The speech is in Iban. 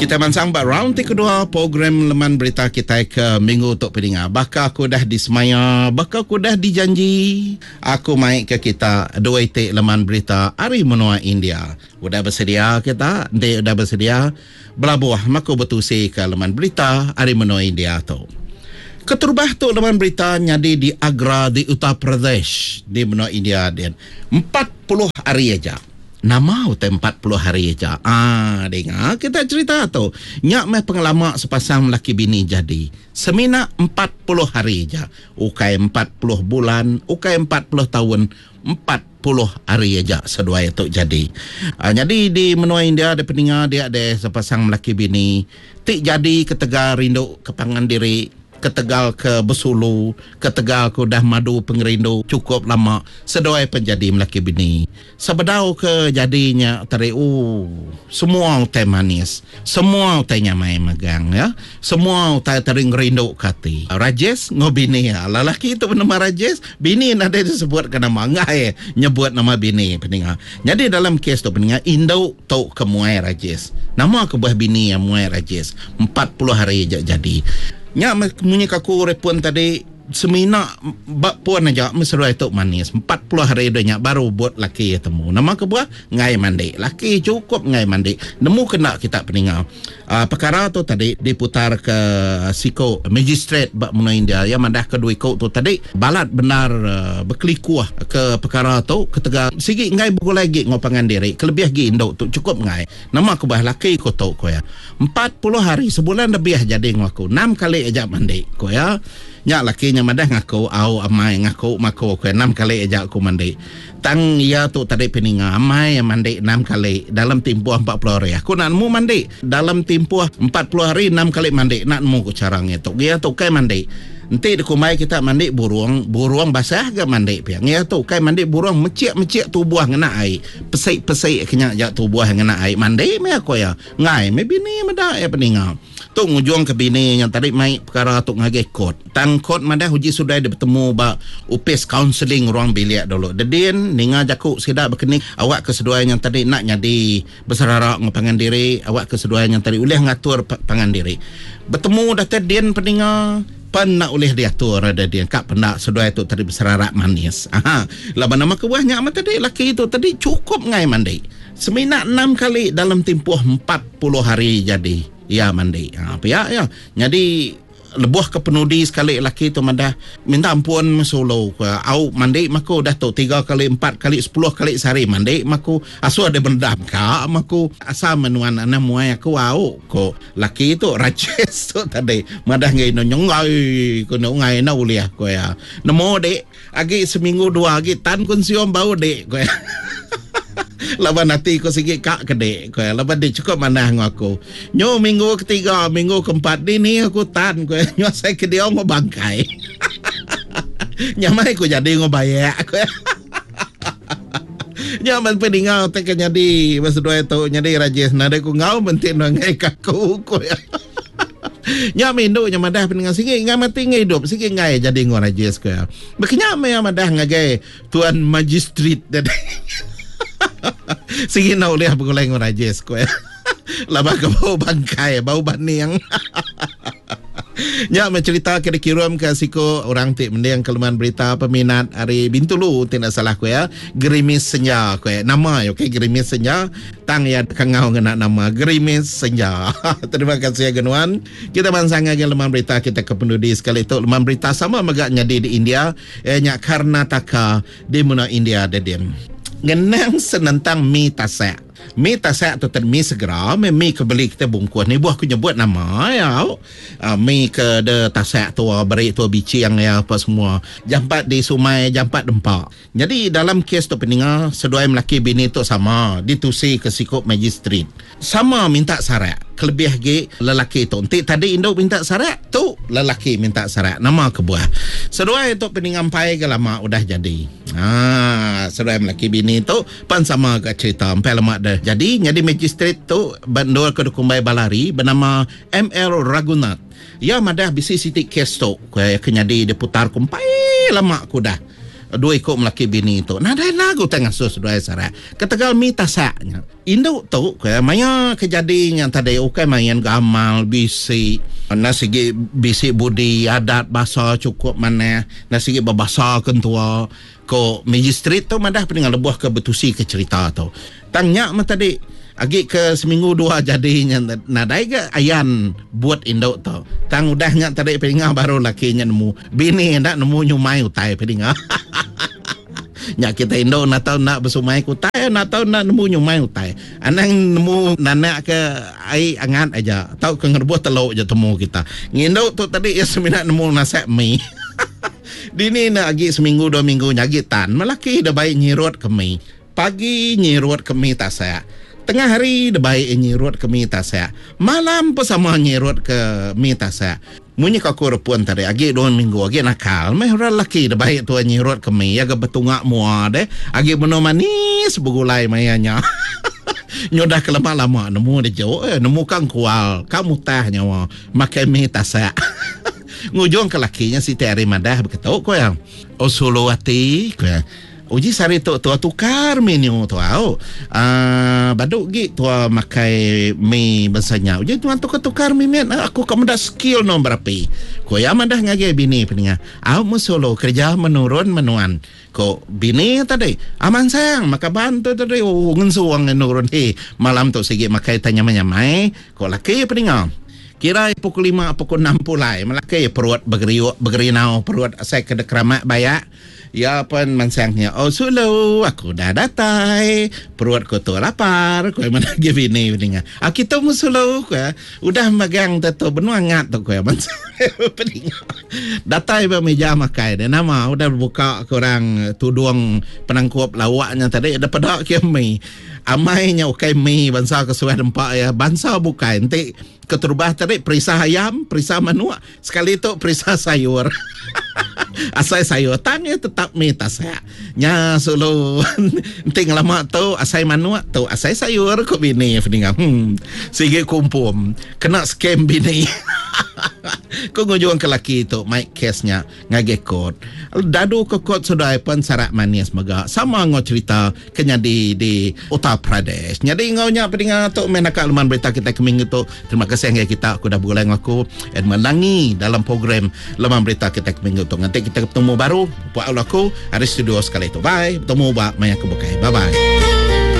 Kita mansang ba round ti kedua program leman berita kitai ke minggu tu peninga. Baka aku udah disemaya, baka aku udah dijanji, aku mai ke kita dua iti leman berita ari menua India. Udah besedia kita? Enti udah besedia, belabuh meh aku betusi ke leman berita ari menua India tu. Keterubah tu leman berita nyadi di Agra di Uttar Pradesh di menua India din 40 hari aja. Nama utai 40 hari aja? Aa dinga kita cerita tu. Nya meh pengelama sepasang melaki bini jadi. Semina 40 hari aja. Ukai 40 bulan, ukai 40 taun, 40 hari aja seduai tu jadi. Aa nyadi di menua India deh peninga dia deh sepasang melaki bini ti jadi ketegal rindu ke pangan diri. Ketegal ke besulu, ketegal ke udah madu pengerindu chukup lama seduai pen jadi melaki bini. Sebedau ke jadi nya tadi ooh semua utai manis, semua utai nyamai megang ya. Semua utai tadi ngerindu ke ati. Rajesh enggau bini iya. Lelaki tu benama Rajesh, bini nadai disebut ke nama enggai nyebut nama bini peninga. Nyadi dalam kes tu peninga indu tu ke muai Rajesh. Nama kebuah bini iya muai Rajesh? 40 hari aja jadi. Nya meh munyi ke aku repun tadi semina ba pun aja meh seduai tu manis. 40 hari udah nya baru but laki iya temu. Nama kebuah? Enggai mandi. Laki chukup enggai mandi. Nemu ke enda kita peninga. Aaa pekara tu tadi diputar ke siku magistrate ba menua India. Iya madah ke dua iku tu tadi balat bendar bekelikuh ke pekara tu ketegal sigi enggai begulai agi enggau pangan diri kelebih agi indu tu chukup enggai. Nama aku bah laki ku tu ku iya. 40 hari sebulan lebih jadi enggau aku. Enam kali aja mandi ku iya. Nya laki nya madah ngaku au amai ngaku maku ku iya enam kali aja aku mandi. Tang iya tu tadi peninga amai iya mandi enam kali dalam timpuh 40 hari. Aku enda nemu mandi dalam timpuh 40 hari enam kali mandi enda nemu ku chara ngi tu. Iya tu ukai mandi. Enti dikumbai kita mandi burung, burung basah ga mandi pia. Ngi iya tu ukai mandi burung mechik-mechik tubuh ngena ai. Pesik-pesik ke nya ja tubuh ngena ai mandi meh ku iya. Enggai meh bini meda iya peninga. Tu ngujung ke bini nya tadi mai pekara tu ngagai kot. Tang kot madah uji sudai deh betemu ba opis kaunseling ruang bilik dulu. Dedin ninga jaku sida bekeni awak ke seduai nya tadi enda nyadi beserara enggau pangan diri awak ke seduai nya tadi ulih ngatur pangan diri. Betemu datai din peninga. Pen enda ulih diatur ada dia ka penda seduai tu tadi beserara manis. Aha. Laban nama kebuah nya meh tadi laki tu tadi chukup ngai mandi. Semina enam kali dalam timpuh 40 hari jadi iya mandi. Ha pia iya. Nyadi lebuh ke penudi sekali laki tu madah minta ampun meh sulu ku au mandi meh aku udah tu tiga kali empat kali sepuluh kali sehari mandi meh aku asuh dia berendam ka meh aku asal meh nuan anang muai aku au ko Laki tu Rajesh tu tadi madah ngagai indu nyenggai ku indu ngai enda ulih ku iya. Nemu dik agi seminggu dua agi tan ku ensium bau dik ku iya. Laban ati ku sigi ka ke dik ku iya laban dik chukup manah enggau aku. Nyu minggu ketiga minggu keempat dini aku tan ku iya nyu asai ke diau enggau bangkai. Nyamai ku jadi enggau bayak ku iya. Nya men peninga utai ke nyadi ba seduai tu nyadi Rajesh nadai ku enggau men ti enda enggai ke aku ku iya. Nya meh indu nya madah peninga sigi enggai mati enggai idup sigi enggai jadi enggau Rajesh ku iya. Baka nya meh iya madah ngagai tuan magistrate tadi. Sigi enda ulih begulai enggau Rajesh ku iya. Laban ke bau bangkai bau baning. Nya meh cerita ke dikirum ke siku orang ti mending ke leman berita peminat ari Bintulu ti enda salah ku iya Gerimis Senja ku iya. Nama iya okey Gerimis Senja tang iya kangau ngena nama Gerimis Senja. Terima kasih ga nuan. Kita mansang ngagai leman berita kita ke penudi sekali tu leman berita sama mega nyadi di India iya nya Karnataka di menua India dedin. Ngenang senentang mi tasak. Mi tasak tu tadi mi segera meh mi ke beli kita bungkus ni buah aku nyebut nama ya au. Uh, mi ke de tasak tua beri tua bicing ya apa semua. Jampat di sumai jampat dempa. Jadi dalam kes tu peninga seduai melaki bini tu sama ditusi ke siku magistrate. Sama minta sarak kelebih agi lelaki tu. Enti tadi indu minta sarak tu lelaki minta sarak. Nama kebuah? Seduai tu peninga empai ga lama udah jadi. Ha seduai melaki bini tu Pan sama ga cherita empai lama deh. Jadi nyadi magistrate tu ba endur ke dikumbai Balari benama ML Ragunath. Iya madah bisi siti kes tu ke nyadi diputar ku empai lama ke udah. Dua iku melaki bini tu nadai lagu utai ngasuh seduai sarak ketegal mi tasak nya. Indu tu ke maya ke jadi nya tadi ukai main gamal bisi enda sigi bisi budi adat basa chukup manah enda sigi bebasa ke entua ko magistrate tu madah peninga lebuh ke betusi ke cherita tu. Tang nya meh tadi agi ke seminggu dua jadi nya nadai ga ayan but indu tu. Tang udah nya tadi peninga baru laki nya nemu bini enda nemu nyumai utai peninga. Nya kita indu enda tau enda besumai ke utai, enda tau enda nemu nyumai utai. Anang nemu nanak ke ai angat aja tauka ngerebuh telu ja temu kita. Ngindu tu tadi iya semina nemu nasak mi. Dini enda agi seminggu dua minggu nya agi tan meh laki da bai nyirut ke mi. Pagi nyirut ke mi tasak. Tengah hari da bai iya nyirut ke mi tasak. Malam pun sama nyirut ke mi tasak. Munyi ko aku repun tadi agi dua minggu agi nakal meh orang lelaki da baik tuai nyirut ke mi iya ga betunga mua deh agi menu manis begulai maya nya. Nyudah ke lama lama nemu dejo eh nemu ka engkual ka mutah nyawa makai mi tasak. Ngujung ke laki nya siti hari madah beketu ko iya. Oh sulu ati ko iya. Uji sehari tu tua tukar menu tua au. Aaa badu gi tua makai mi bansa nya. Uji tuan tukar-tukar mimit aku ka meda skill nuan berapi. Ku iya madah ngagai bini peninga. Au meh sulu kereja menurun menuan. Ku bini tadi. Ah mansang maka ban tu tadi ooh ngensung nurun hi malam tu sigi makai utai nyamai-nyamai. Ku laki peninga. Kira pukul lima pukul enam pulai melaki perut begeriuk begerinau perut asai ke dekeramak bayak. Iya pen mansang nya, Oh sulu, aku udah datai. Perut ku tu lapar, ku iya meda agi bini peninga. Ah kitu mu sulu, ku iya. Udah megang te tu benung angat tu, ku iya mansang peninga. Datai ba mija makai deh nama udah bebuka ke orang tudung penangkup lauk nya tadi deh peda ke mi. Amai nya ukai mi bansa ke suah dempa iya, bansa bukai enti keterubah tadi perisa ayam, perisa manuk. Sekali tu perisa sayur. Asai sayur tang iya tetap mi tasak. Nya sulu enti ngelama tu asai manuk tu asai sayur ku bini peninga. Hmm. Sigi kumpum kena scam bini. Ku ngujung ke laki tu mai kes nya ngagai court. Dadu ke court seduai pen sarak manis mega sama enggau cerita ke nyadi di Uttar Pradesh. Nyadi enggau nya pedinga tu meh naka leman berita kitai ke minggu tu. Terima kasih ngagai kita ke udah begulai enggau aku Edmund Langi dalam program leman berita kitai ke minggu tu. Nganti kita betemu baru puak aku ari studio sekali tu. Bye. Betemu ba maya ke bukai. Bye bye.